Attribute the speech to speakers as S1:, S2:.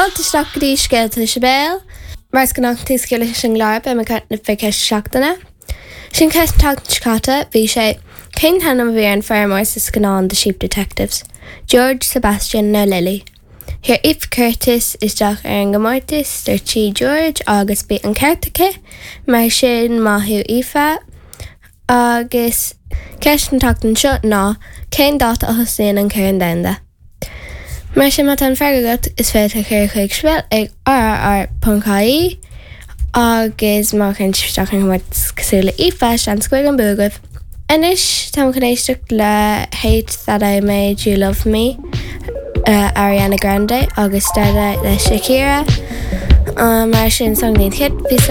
S1: Fáilte isteach go dtí Scéalta Sibéal. Mar is gnách tús leis an gclár beidh mé ag caint fé cheist na seachtaine. Sin ceist an tseachtain seo caite, bhí sé, Cén t-ainm a bhí ar an feirmeoir sa scannán The Sheep Detectives? George, Sebastian nó Lily? Chuir Aoife Curtis isteach ar an gcomórtas, dúirt sí George agus bhí an ceart aici, mar sin maith thú Aoife. Agus ceist an tseachtain seo ná, cén dáta a thosaíonn an Corn Domhanda? Mar sin má tá an freagra agat, is féidir a chur chuig sibéal ag rrr.ie agus má chuireann sibh isteach ar an chomórtas cosúil le Aoife, seans go mbeidh an bua agaibh. Anois táim chun éisteacht le Hate That I Made You Love Me, Ariana Grande agus Starlight le Shakira. Mar sin song den chéad phíosa.